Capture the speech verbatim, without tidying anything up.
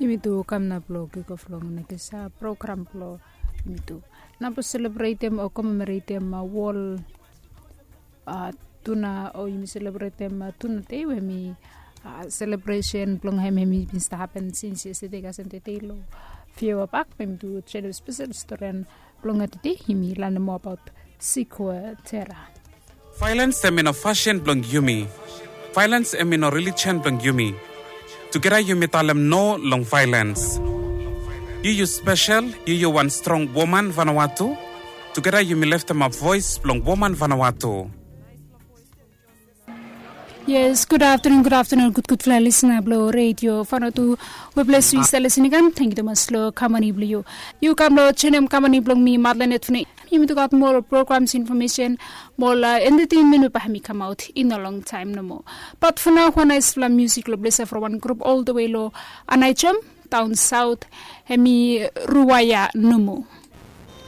Yumi tu kam na blong kikof long nekesa program blong yumi tu na blong selebretem o komemoretem wol tuna o yumi selebretem tuna dei we mi selebresen blong hem hem i bin stap hapen sins yestede kasem tete long fiewa pak we mi tu jenem spesel storian blong tete yumi lanem moa abaot sikwe tera. Vailens hem i no fasin blong yumi. Vailens hem i no relijen blong yumi. Tugeta yumi talem no long vailens. Yu yu spesel, yu yu wan strong woman vanawatu. Tugeta yumi leftemap voes blong woman vanawatu. Yes, gud aftenun gud aftenun gudgudfala lisna blong redio fanatu. We bless yu i stap lisin i kam, tangyu tumas long kamani blong yu. Yu kam long jenem kamani blong mi matlanet fune. Yumi tu gat mol programs infomesen mol entetenmen we bae hem i kamaot i no longtaem nomo. Bat fo nao wan naesfala musik long blesa from wan grup ol de we long anaejom daon saot, hem i ruaea nomo.